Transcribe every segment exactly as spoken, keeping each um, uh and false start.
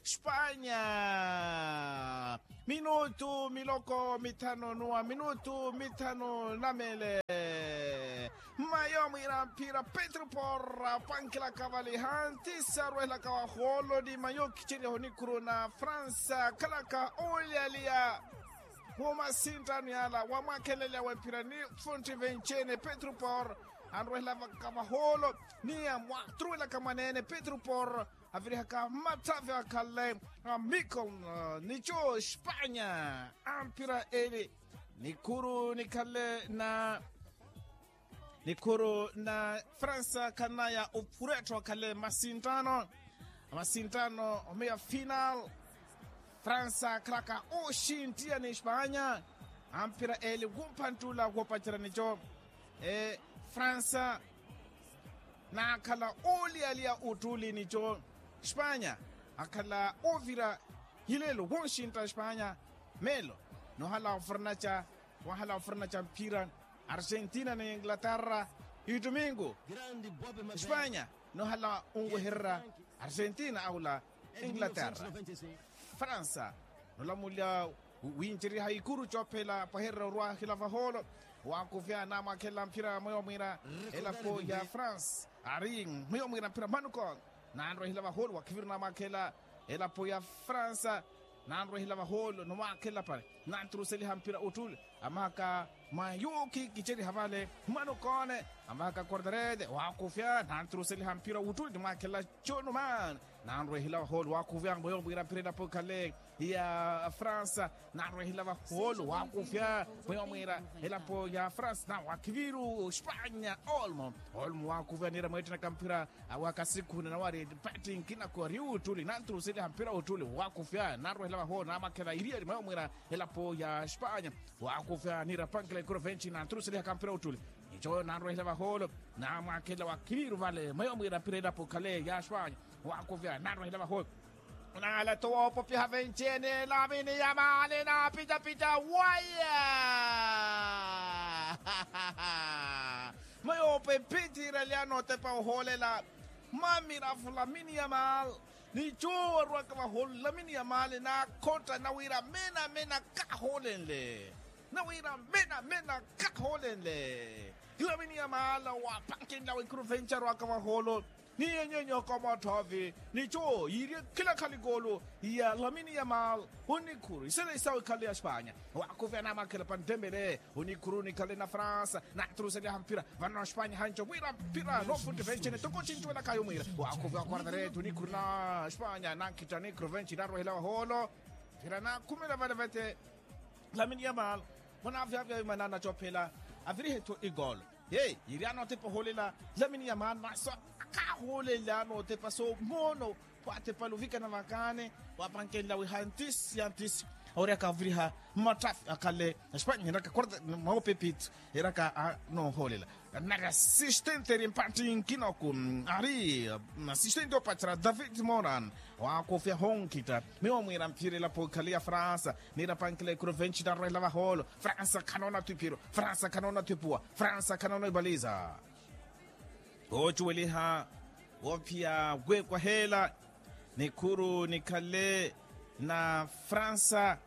Espanya. Minutu miloko mithanu nuwa minutu mithanu na mele. Mayo mwira mphira petro porra pankilaka vali hantisa rwelaka waholo ni mayo kicheriha onikhuru na fransa khalaka olialiya. Woma sintano yala wamwakhelelya wemphira ni funti vencene petro porra. Anrwelaka vaholo ni amwatruwelaka mwanene petro porra. Avirihaka mmatthavi akhalle a mikon nicho espanya. Ampira eli nikhuru nikhalle na nikhuru na fransa khanaya ophurettho akhalle masintano. Masintano omeya final fransa akhalaka oxintiya ni espanya. Ampira eli wumphantula wopacerya nicho e fransa naakhala ooliyaliya ottuli nico espanya. Akhala oovira hilelo wonxintta espanya. Melo nohala ofurnaca wahala ofurnaca mphira argentina ni inglaterra. Ituminku espanya nohala onwehererya argentina aula inglaterra. Fransa nolamulya wincerya haikuru cophela paherera orwahila vaholo. Wakuvya namwakhela mphira mweyo mwira elapo ya fransa ari mweyo mwira mphira manuko nanrwehela vaholo wakhiviru namwakhela elapo ya fransa. Nanrwehela vaholo nomwakhela pale nanturuseliha mphira ottule amahaka mwa yuki kicheriha vale mwanokone. Amahaka korderede wakufya nanturuseliha mphira ottule nimwakhela chonuman. Nanrwehela vaholo wakufya mweyo mwira mphira elapo khale ya fransa. Nanrwehela vaholo wakufya mweyo mwira elapo ya fransa na wakhiviru espanya olmo olmo wakufya nira mwettenaka mphira. Awo akasikhuna nawari pati nkina kori ottuli nanturuseliha mphira ottuli wakufya narwehela vahoolo namwakhela iriyari mweyo mwira elapo ya espanya. Wakufya nira pankela ikuru venci nanturuselihaka mphira ottuli nicho narwehela vahoolo namwakhela wakhiviru vale mweyo mwira mphira elapo khale ya espanya. Wakufya narwehela vahoolo nala towa opopyaha venci ene lamini ya mali napitapita waya. Mayope mpitthira lya notepa ohoolela. Mamirafu lamini ya mal nicho warwaka vaholo lamini ya mal nakhotta nawira mena mena kahoolenle. Nawira mena mena kahoolenle lamini ya mal wapankenla wikuru venci arwaka vaholo. Ni yenyenyoka omotthovi nicho yiirye khila khali koolo ya lamini ya mal onikhuru isele isawe khale ya espanya. Wakuvya namakhela pantembele onikhuru nikhale na fransa naturuseliha mphira vano espanya hanco mwira mphira nofunti vencene toko cincuwelakayo mwira. Wakuvya quartarete onikhuru na espanya nankhitta nikhuru venci narwehela waholo. Mphira nakhumela vale vete lamini ya mal mwanavyavyayuma nanacophela avirihetho igolo. Ye yiri anootepa ohoolela lamini ya mal maso akahoolela anootepa so moono. Waatepala ovikana vakani wapankenla wi hantisi hantisi awerya akaviriha mmatthafi akhale espanya eraka quarta mwaopepit eraka anoohoolela. Nari asistente eri mpatthi nkinoku ari asistente opattera david moran. Waakufya honkhitta miyo mwiira mphira elapo ikhale ya fransa nira pankela ikuru venci narwela vahoolo. Fransa khanoona twiphiro fransa khanoona twipuwa fransa khanoona ipaliza. Woocuweliha woophiya weekwaheela nikhuru nikhale na fransa.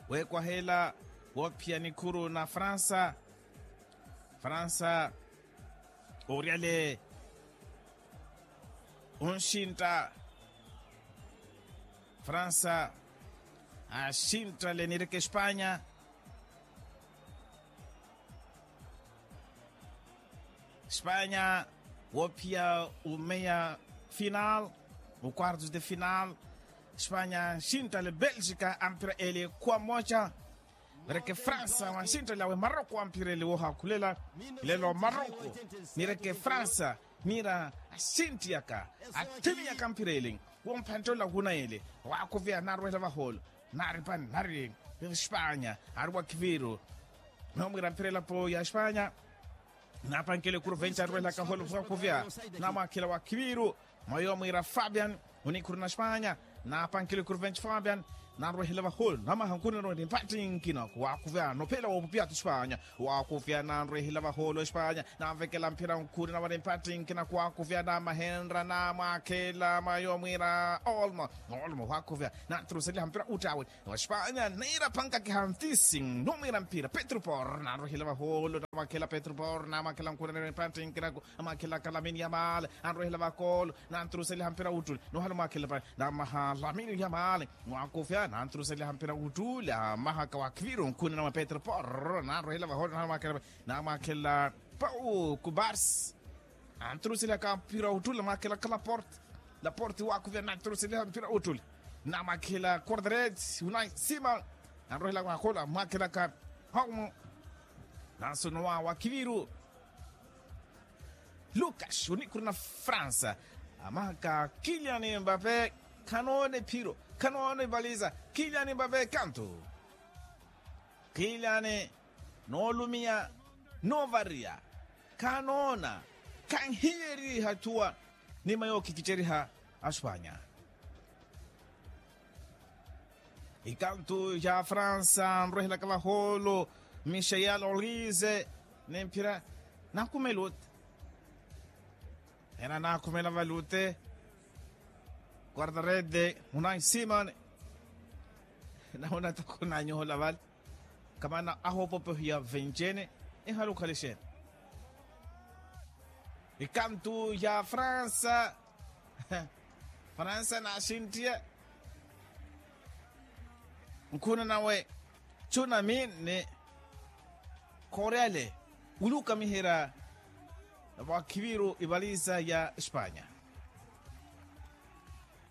Weekwaheela woophiya nikhuru na fransa. Fransa oryale onxintta fransa axinttale nireke espanya. Espanya woophiya omeya final oquartos de final. Espanya axinttale belgica ampira ele khuwa mmoca. Mireke fransa wanxinttale awe maroko ampira ele woohakhulela. Lelo maroko mireke fransa nira axinttiyaka athimiyaka ampira ele womphanttela okhuna ele. Waakhuviya narwela vahoolo naripani nari espanya ari wakhiviru. Mweyo mwiira mphira elapo ya espanya napankela ekuru venci arwelaka holo vwakuvya namwakhela wakhiviru. Mweyo mwiira fabian onikhuru na espanya napankela ekuru venci fabian. Nanrwehela vahoolo namaha nkhunena wari mpattinkina kuwakuvya nophela woopupya atu espanya. Wakuvya nanrwehela vahoolo espanya. Nanvekela mphira nkhunena wari mpattinkina kuwakuvya namahenra namwakhela mwayo mwira olmo. Olmo wakuvya nantruseliha mpira uttawe. Wa espanya niira phankakiha ntisi numwira mpira petru por nanrwehela vahoolo namwakhela petru por namwakhela nkhunena wari mpattinkina. Amwakhela kalamin yamal. Anrwehela vakoolo nantruseliha mpira uttuli. Nohala omwakhela pa namaha lamini ya maali. Mwakufya nantruseliha mpira uttuli amahaka wa kiviru nkhunena mwa petro porro nanrwehela vahoolo nohala omwakhela pa namwakhela pau kubarsi. Antruseliha ka mpira uttuli amwakhela ka laporte. Laporte wakufya nantruseliha mpira uttuli. Namwakhela quartarete unai sima. Anrwehela vakoolo amwakhela ka paumu. Nanso nowa wa kiviru. Lukas onikuru na fransa. Amahaka kilian mbape. Khanoona ephiro khanoona evaliza. Kilian mbape kantu. Kilian noolumiya noovariya. Khanoona khanhiyeriha thuwa. Nima yookikiceriha aspanya. Ikantu ya fransa nrwehelaka vahoolo. Michel olise ni mphira nakhumela ote. Ena nakhumela vale ote. Quartarede munai simon. Nauna takhunanyohola vale. Kamana ahoopopohiya vencene. Ihala okhale xeeni. Ikantu ya fransa. Fransa naxinttiye. Nkhuna nawe tsunami ni koreale. Wulukamiherya vakhiviru ivaliza ya espanya.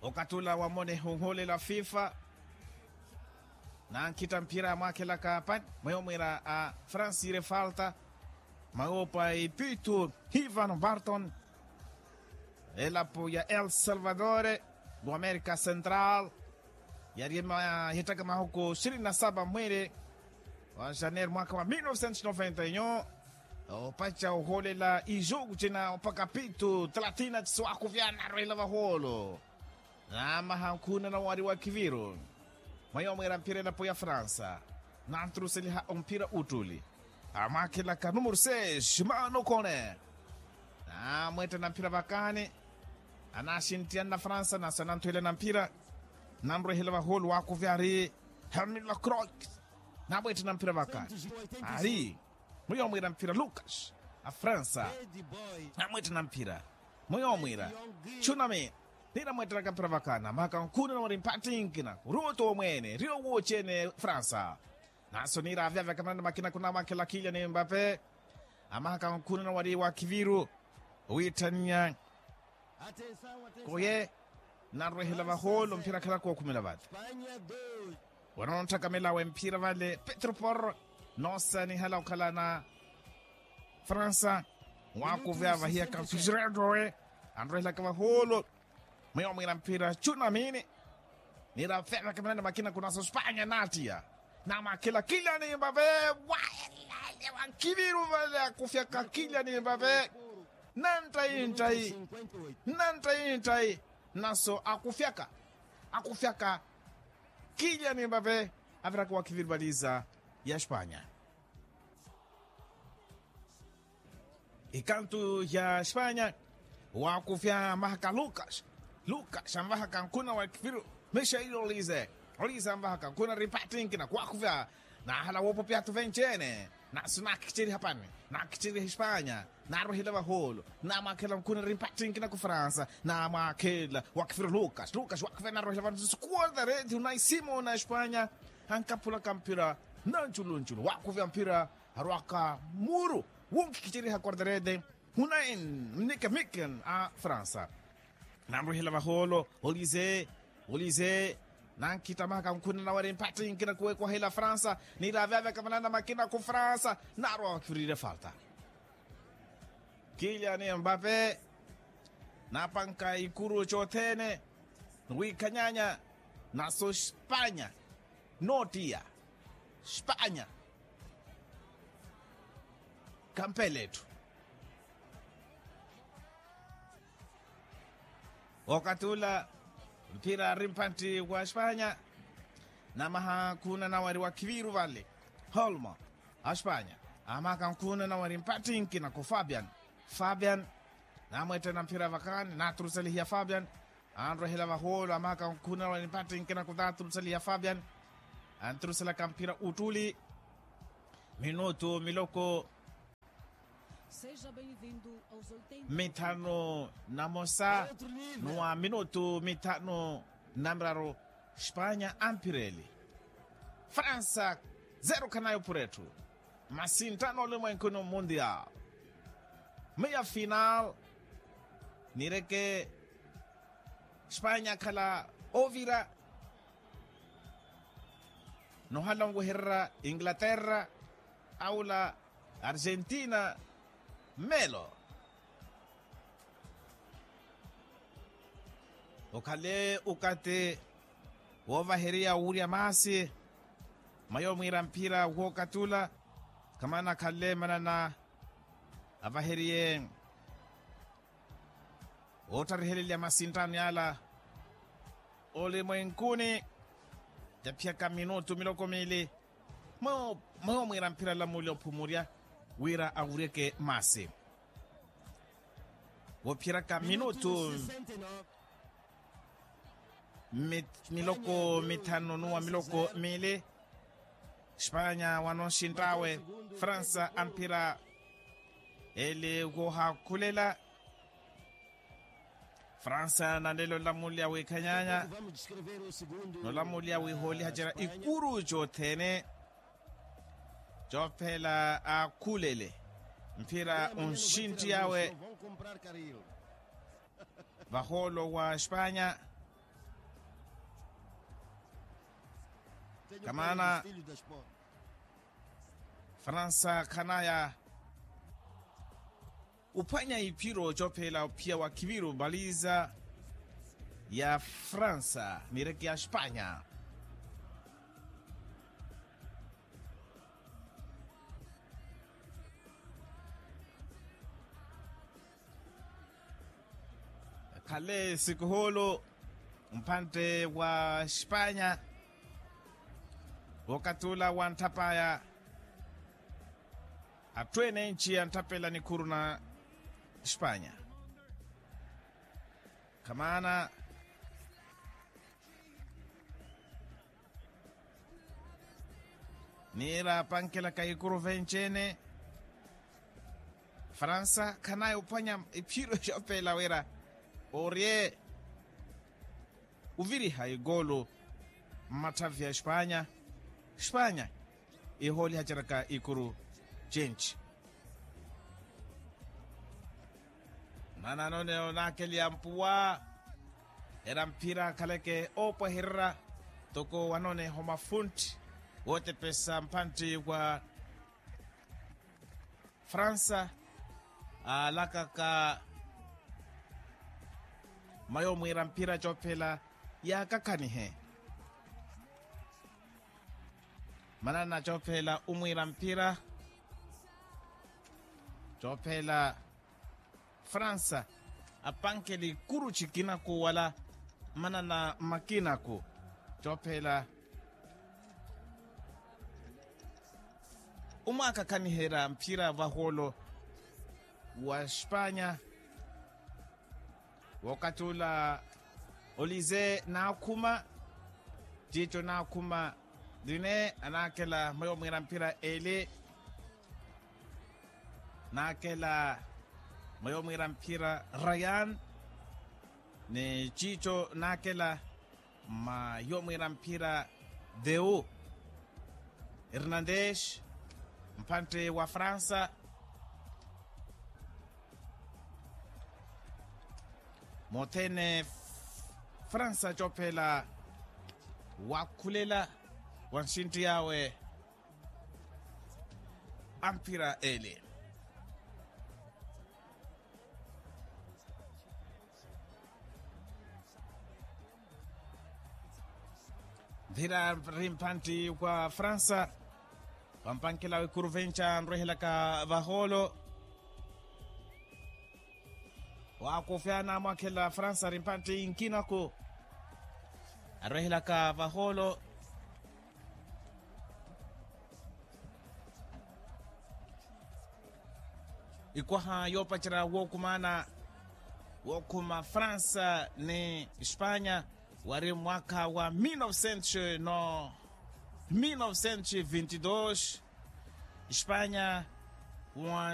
Okathi ula wamone huhulela fifa. Nankhitta mphira amwakhelaka pani mweyo mwira a francis refalta. Mawopa ipitu hivan barton. Elapo ya el salvador. Wa amerika central. Yari ema hittaka mahuku sirini na saba mwiri wa janeiro mwaka wa mil novecentos noventa e nyu. Opaca ohoolela ijuku cina opaka pitu talatina cisi wakuvyana arwela vahoolo. Namaha nkhuna nawari wa kiviru. Mwayo mwira mphira elapo ya fransa. Nantruseliha omphira uttuli. Amwakhelaka numuru seis manukone. Namwettana mphira vakani. Anaxinttiya nna fransa nasa nanthuwela na mphira. Nanrwehela vahoolo wakuvyari. Hermine lacroix. Namwettana mphira vakani. Ari. Mwiyo mwira mphira lukas. A fransa. Namwettana mphira. Mwiyo mwira. Tsunami. Nira mwetteraka mphira vakana mahaka nkhunena wari mpattinkina kuruto omwene riyo woocene fransa. Naso nira avyavya kamanani makina kunamwakhela kilian mbape. Amahaka nkhunena wari wa kiviru. Owitthaniya. Koye. Narwehela vahoolo mphira khalaka okhumela vale. Wanontthaka melawe mphira vale petro porro. Noosanihala okhalana. Fransa. Wakuve avahiyaka mfisireto owe. Anrwehelaka vahoolo. Mwiyo mwira mphira tsunamini. Nira fevaka manene makina kunaso spanya nattiya. Namakhela kilian mbape. Waelale wa nkiviru vale akufyaka kilian mbape. Nanttayi nttayi. Nanttayi nttayi. Naso akufyaka. Akufyaka. Kilian mbape. Aviraka wa kiviru valiza ya spanya. Ikantu ya spanya. Wakufya mahaka lukas. Lukas anvahaka nkhuna wa kiviru. Michel olize. Olize anvahaka nkhuna ripattinkina kwakufya. Nahala woopopya atu venci-ene. Nasu naakhicerya hapani. Naakhicerya hispanya. Naarwehela vahoolo. Namwakhela nkhuna ripattinkina ku fransa. Namwakhela wa kiviru lukas lukas wakufya naarwehela vano sikuwonta reti unaisimona espanya. Ankaphulaka mphira. Nanculuncu wakuvya mphira. Arwaka muru. Wunkikiceriha quartarete. Hunain mnikemiken a fransa. Nanrwehela vahoolo olize. Olize. Nankitta mahaka nkhunena wari mpattinkina kuwekwahela fransa. Nira avyavya kamanana makina ku fransa. Narwa wakifurire falta. Kilian mbape. Napanka ikuru cothene. Wikhanyanya. Naso spanya. Notiya. Spanya. Kampele etthu. Okathi ula. Mphira ari mpantti wa spanya. Namaha khuuna nawari wa khiviru vale. Holmo, aspanya, amaka nkhuuna nawari mpattinki naku fabian. Fabian, namwettena mphira vakhaani naturusalihiya fabian. Anrwehela vahoolo amaka nkhuuna nawari mpattinki naku naturusalihiya fabian. Anturuselaka mphira uttuli. Minutu miloko mithanu na mosa n'uwa minutu mithanu na miraru. Spanya ampireli fransa. Zero khanayi opura etthu. Masinttano olimwenkuni mundial. Meia final nireke spanya akhala ovira nohala onwehererya inglaterra. Aula argentina. Melo okhale ukati woovaheriya owurya maasi. Mayo mwiira mphira wookatula khamana akhale manana avaheriye oottharihelelya masinttano yaala. Olimwenkuni taphiyaka minutu miloko miili. Mwewo mwewo mwiira mphira lamulya ophumurya wira awuryeke maasi. Woophiyeryaka minutu miloko mithanu n'uwa miloko miili. Spanya wano nxinttawe fransa amphira. Eli woohakhulela fransa nanlelo olamulya wiikhanyanya. Nolamulya wiihoolihacerya ikuru cothene. Coophela aakhulele mphira onxintti awe vahoolo wa spanya. Kamaana fransa khanaya uphwanya iphiro coophela ophiya wa khiviru baliza ya fransa nireke ya spanya. Khale sikuhulu mpantte wa spanya wookatula wa ntthapaya. Atthu ene enci antthapela nikhuru na spanya khamaana. Niira apankelaka ikuru venci-ene fransa khanayi ophwanya iphiro xoopeela wira orye oviriha ikoolo mmatthavi a espanya. Espanya ihoolihaceryaka ikuru cenci. Manano neonakeliya mpuwa era mphira akhaleke oopwehererya toko wanoneha omafuntti wootepesa mphantti wa fransa. Aalakaka mayo omwiira mphira coophela yaakakhanihe. Manana coophela omwiira mphira coophela fransa apankela ikuru cikinaku wala manana makinaku coophela omwaakakhaniherya mphira vahoolo wa espanya. Wookatula olize naakhuma ciico naakhuma line anaakela mayo mwiira mphira eli naakela mayo mwiira mphira rayan ni ciico naakela mayo mwiira mphira deu hernandes mphantte wa fransa. Mothene fransa coophela waakhulela wa nxintti yawe a mphira ele. Mphira ri mphantti wa fransa wampankhela wikuru venca anrwehelaka vahoolo. Waakufya naamwakhela fransa ri mphantti inkinaku arwehelaka vahoolo. ikwaha yoopacerya wookumana wookhuma fransa ni espanya wari mwaakha wa mil novecentos no mil novecentos e vinte e dois espanya wa